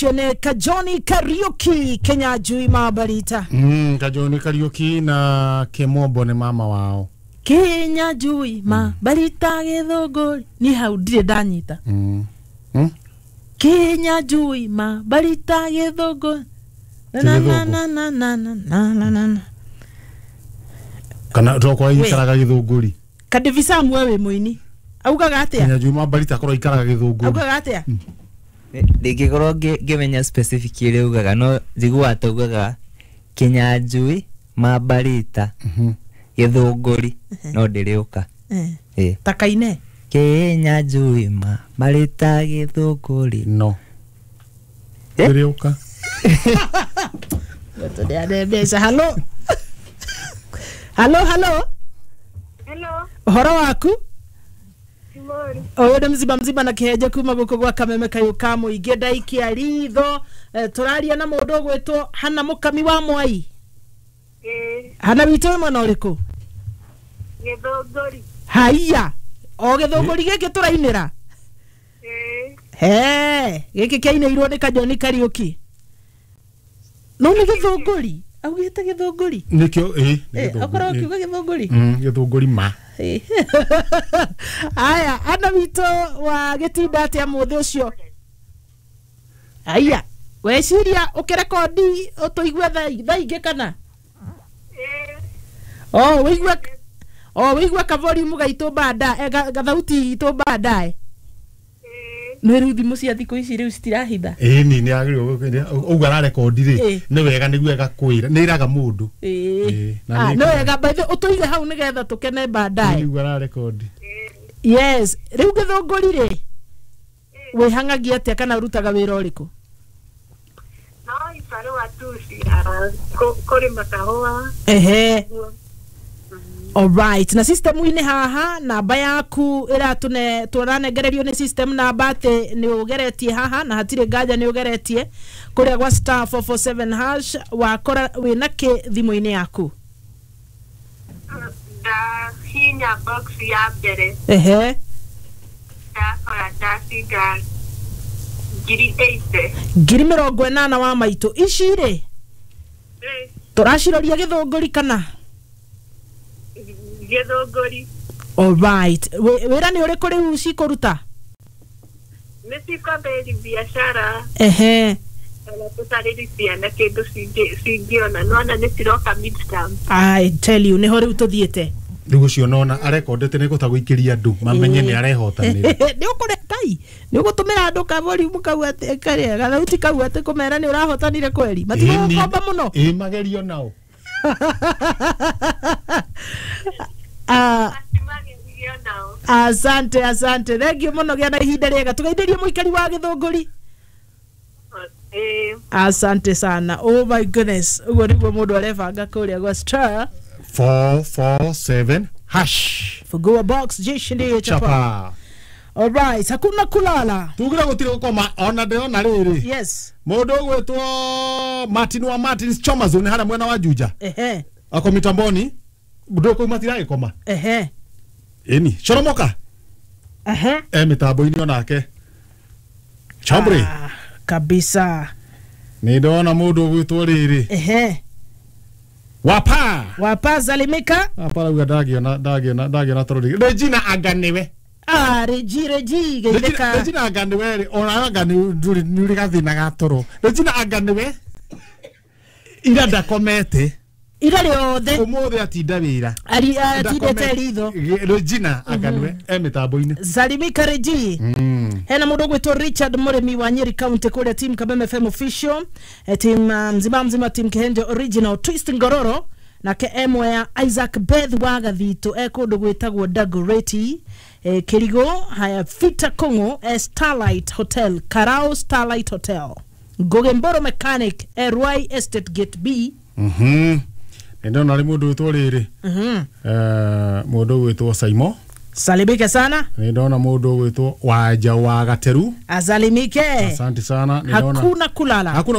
Nĩ Kajoni Kariuki Kenya Jui Mabarita. Kajoni Kariuki na Kimombo nĩ mama wao. Kenya Jui Mabarita gĩthũngũri ni hau ndirĩ ndanyita. Kenya Jui Mabarita gĩthũngũri na na na na na na na na na na. Kana tokorwo ikaraga gĩthũngũri. Kadivisa mwe wĩ mũini augaga atĩa? Kenya Jui Mabarita akorwo ikaraga gĩthũngũri. Augaga atĩa? Ndingĩkorwo ngĩmenya specific ĩrĩa ugaga, no njiguaga taugaga Kinyanjui Mabarita gĩthũngũri, no ndĩrĩũka. Eh. Ta kaine. Kinyanjui Mabarita gĩthũngũri. No. Ndĩrĩũka. Tũneane mbeca. Halo. Halo, halo. Hello. Ũhoro waku? Ũyũ nĩ mzima mzima na kĩhenje kuma gũkũ gwa kameme kayũ ka mũingĩ ndaikia ritho. Tũraria na mũndũ ũgwĩtwo Hana Mũkami wa Mwai. Hana witũ wĩ mwena ũrĩkũ? Gĩthũngũri. Haiya, o gĩthũngũri gĩkĩ tũrainĩra? He, gĩkĩ kĩainĩirwo nĩ Kajoni Kariũki. No nĩ gĩthũngũri? Augĩte gĩthũngũri? Nĩkĩo, ĩ, nĩ gĩthũngũri. Okorwo ũkiuga gĩthũngũri? Gĩthũngũri ma. Aya, ana witũ wa gĩtinda atĩa mũthĩ ũcio? Aya, weciria ũkĩrekondi ũtũigue thaa ingĩ kana? Oh, wĩigue, oh, wĩigue ka volume gaitũ baadaye, gathauti itũ baadaye. Nĩ rĩu thimũ cia thikũ ici rĩu citirahitha. Ĩĩ ni nĩ agĩrĩirwo ũguo ararekondi rĩ, nĩ wega nĩguo ĩgakwĩra, nĩ ĩraga mũndũ. Ĩĩ. Nĩ wega by the ũtũige hau nĩgetha tũkene baadaye. Nĩguo ararekondi. Yes, rĩu gĩthũngũri rĩ, wĩhang'agia atĩa kana ũrutaga wĩra ũrĩkũ? No ibarũa tu cia kũrĩma kahũa. Ehe. Alright, na system-inĩ haha namba yaku ĩratũne tũranengererio nĩ system namba atĩ nĩ ũgeretie haha na hatirĩ nganja nĩ ũgeretie kũrĩa gwa star 447 hash wakora wĩna kĩ thimũ-inĩ yaku? Ndahihinya box ya mbere. Ehe. Ndakora ndacinda 80,000. 80,000 wa maitũ. Ici rĩ tũraciroria gĩthũngũri kana? Gĩthũngũri. Alright. Wĩra nĩ ũrĩkũ rĩu cikũruta? Nĩ cikwambĩrĩria biacara. Ehe. Kana tũtarĩri ciana kĩndũ cingĩona. Nĩwona nĩ ciroka midterm. I tell you nĩho rĩu tũthiĩte. Rĩu ũcio nona arekondete nĩ kũhota gũikĩria andũ mamenye nĩ arehotanĩra. Nĩ ũkũrekai nĩ ũgũtũmĩra andũ ka volume kau atĩ karĩa gathauti kau atĩ kũmera nĩ ũrahotanire kweri. Matigũgũkomba mũno. Ĩĩ magerio nao. Asante, asante. Thank you mũno gĩa na ihinda rĩega. Tũgeithĩrie mũikari wa gĩthũngũri. Asante sana. Oh my goodness. Ũguo nĩguo mũndũ arebanga kũrĩa gwa star 447 hash. Fungua box jeshi ndiye chapa. All right, hakuna kulala. Tugira gũtirĩ gũkoma ona ndĩrona rĩrĩ. Yes. Mũndũ ũgwĩtwo Martin wa Martin's Choma Zone harĩa mwena wa Juja. Ehe. Ako mitamboni. Ndå kå matiragä. Ehe. Ĩni coromoka. Ehe. E mĩtambo-inĩ onake. Chambre. Kabisa. Nĩ ndona mũndũ ũgwĩtwo rĩrĩ. Ehe. Wapa. Wapa salimika. Wapa rauga ndangĩona toro rĩngĩ. Regina anga nĩwe. Ah, Regi geithĩka. Regina anga nĩwe rĩ, ona anga nĩ ũrĩ gathĩna ga toro. Regina anga nĩwe. Ira ndakomete. Ira rĩothe. Ũmũthĩ atinda wĩra. Atindĩte ritho. Regina anga nĩwe e mĩtambo-inĩ. Salimika Regi. Hena mũndũ ũgwĩtwo Richard Mũrĩmi wa Nyeri County kũrĩa team Kabeme FM official, team mzima mzima team Kihenjo original Twist Ngororo nake emwe ya Isaac Beth wa Gathito e kũndũ gwĩtagwo Dagoretti Kirigo haya Fita Kongo Starlight Hotel Karao Starlight Hotel Ngoge Mboro Mechanic Ruai Estate Gate B. Nĩ ndona rĩ mũndũ wĩtwo rĩrĩ. Mũndũ ũgwĩtwo Saimo. Salimike sana. Nĩ ndona mũndũ ũgwĩtwo Wanja wa Gateru. Asalimike. Asante sana. Hakuna kulala. Hakuna.